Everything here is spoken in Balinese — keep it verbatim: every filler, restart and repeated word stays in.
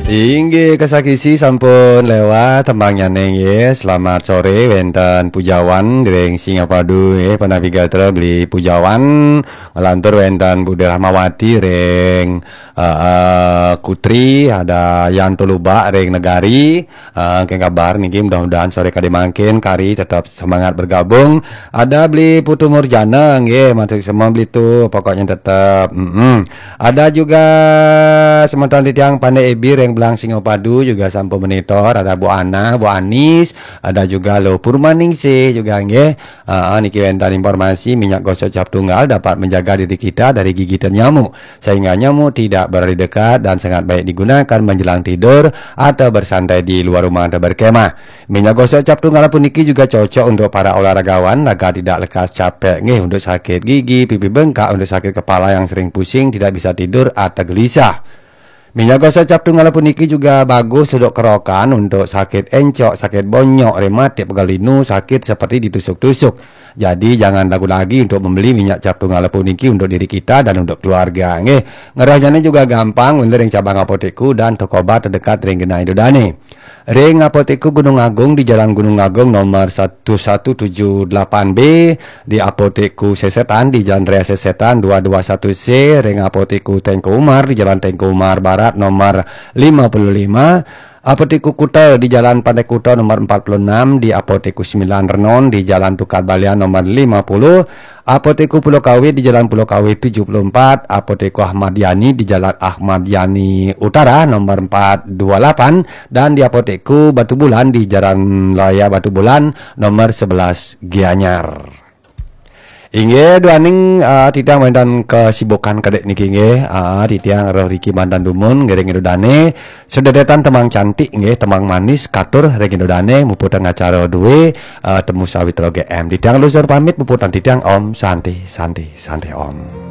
Inggih, kasakisi sampun lewat tembangnyané nggih. Selamat sore wénten Pujawan ring Singapadu nggih, panavigatra Beli Pujawan nglantur wénten Budi Rahmawati ring eh, eh, Kutri, ada Yan Tulubak ring Negari. Eh, kénkén kabar niki, mudah-mudahan sore kadi mangkin kari tetap semangat bergabung. Ada Beli Putu Murjana nggih, matur semua Beli tu pokoknya tetap. Mm-mm. Ada juga semeton titiang Pandai Ebi ring Belang Singapadu juga sampun monitor, ada Bu Ana, Bu Anis, ada juga Lo Purmaningsih juga nggih. Ah, niki wénten informasi minyak gosok cap tunggal dapat menjaga diri kita dari gigitan nyamuk, sehingga nyamuk tidak berani dekat dan sangat baik digunakan menjelang tidur atau bersantai di luar rumah atau berkemah. Minyak gosok cap tunggal puniki juga cocok untuk para olahragawan, agar tidak lekas capek nggih, untuk sakit gigi, pipi bengkak, untuk sakit kepala yang sering pusing, tidak bisa tidur atau gelisah. Minyak gosok cap tunggal puniki juga bagus untuk kerokan, untuk sakit encok, sakit bonyok, rematik, pegal linu, sakit seperti ditusuk-tusuk. Jadi jangan ragu lagi untuk membeli minyak cap tunggal puniki untuk diri kita dan untuk keluarga nggih. Ngerahnya juga gampang, wénten ring cabang apotekku dan toko obat terdekat ring genah Ida dané. Ring Apotekku Gunung Agung di Jalan Gunung Agung nomor satu satu tujuh delapan B, di Apotekku Sesetan di Jalan Raya Sesetan dua dua satu C, ring Apotekku Tengku Umar di Jalan Tengku Umar Barat nomor lima puluh lima, Apotekku Kuta di Jalan Pantai Kuta nomor empat puluh enam, di Apotekku Sembilan Renon di Jalan Tukad Balian nomor lima puluh, Apotekku Pulau Kawe di Jalan Pulau Kawe tujuh puluh empat, Apotekku Ahmad Yani di Jalan Ahmad Yani Utara nomor empat dua lapan, dan di Apotekku Batu Bulan di Jalan Raya Batu Bulan nomor sebelas Gianyar. Inggih, duaning ah, titiang wénten kesibukan kadek niki nggih. Ah, titiang roh Riki mantan dumun ngiring Ida dané. Sedérétan tembang cantik nggih, tembang manis katur ring Ida dané muputang acara dué ah, Temu Sawitra G M. Titiang luhur pamit, puputang titiang Om Santi Santi Santi Om.